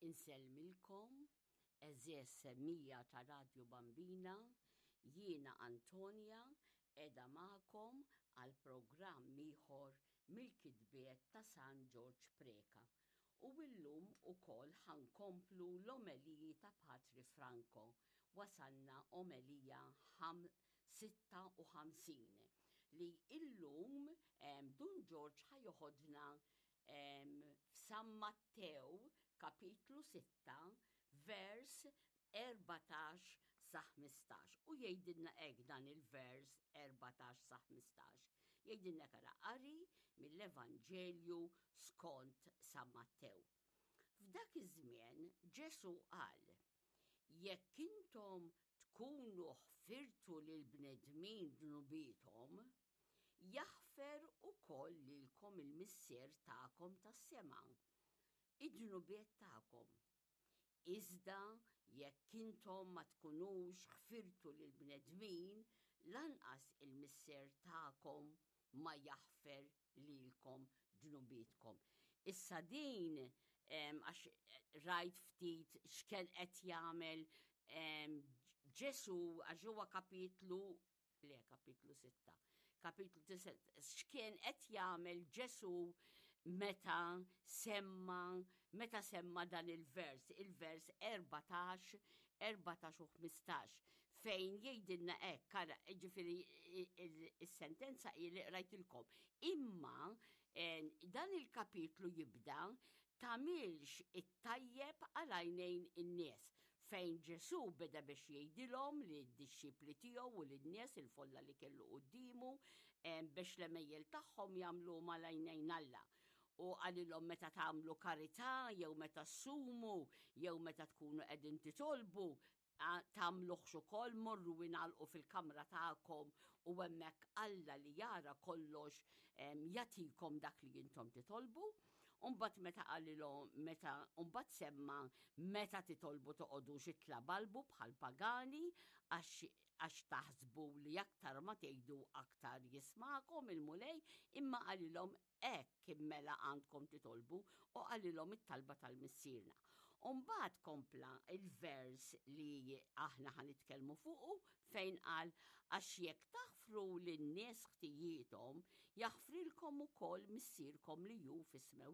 Insellmilkom, għeżież semmiegħa ta' Radju Bambina, jiena Antonia qiegħda magħkom għal programm ieħor mill-kitbiet ta' San Ġorġ Preca. U illum ukoll ħa nkomplu l-omeliji ta' Patri Franco. Wasalna omelija 56 li illum Dun Ġorġ ħa joħodna f'San Mattew kapitlu 6 vers 14 sa 15 u jgħidilna hekk dan il-vers 14 sa 15. Jgħidilna kara qari mill-Evanġelju skont San Mattew. F'dak iż-żmien Ġesu qal, Jekk intom tkunu ħfirtu lil bnedmin dnubiethom, Jaħfer ukoll lilkom il-Missier tagħkom tas-sema id-dnubiet tagħkom. Iżda jekk intom ma tkunux ħfirtu lill-bnedmin, lanqas il-Missier tagħkom ma jaħfer lilkom dnubietkom. Issa din għax rajt ftit x'kien qed jagħmel Ġesu għax huwa kapitlu Le, kapitlu 6. Kapitlu 6. X'kien qed jagħmel Ġesu meta semma meta semma dan il-vers, il-vers 14, 14 u 15, fejn jgħidilna hekk, ara, ġifieri is-sentenza hi li qrajtilkom. Imma eh, dan il-kapitlu jibda Tagħmilx it-tajjeb għal għajnejn in-nies, fejn Ġesù beda biex jgħidilhom lid-dixxipli tiegħu u lin-nies il-folla li kellu quddiemu biex l-għemejjel tagħhom jagħmluhom għal għajnejn Alla. U qalilhom meta tagħmlu karità jew meta ssumu jew meta tkunu qegħdin titolbu, tagħmluhx ukoll morru ingħalqu fil-kamra tagħkom u hemmhekk Alla li jara kollox jagħtikom dak li intom titolbu. Umbagħad meta qalilhom meta mbagħad semma meta titolbu toqogħdux itlabalbu bħal pagani għax taħsbu li aktar ma tgħidu aktar jismagħkom il-Mulej, imma qalilhom Hekk mela għandkom titolbu u qalilhom it-talba tal-Missierna. U mbagħad kompla il-vers li aħna ħa nitkellmu fuqu fejn qal għax jekk taħfru lin-nies ħtijiethom, jaħfrilkom ukoll Missierkom li hu fis-smewwiet.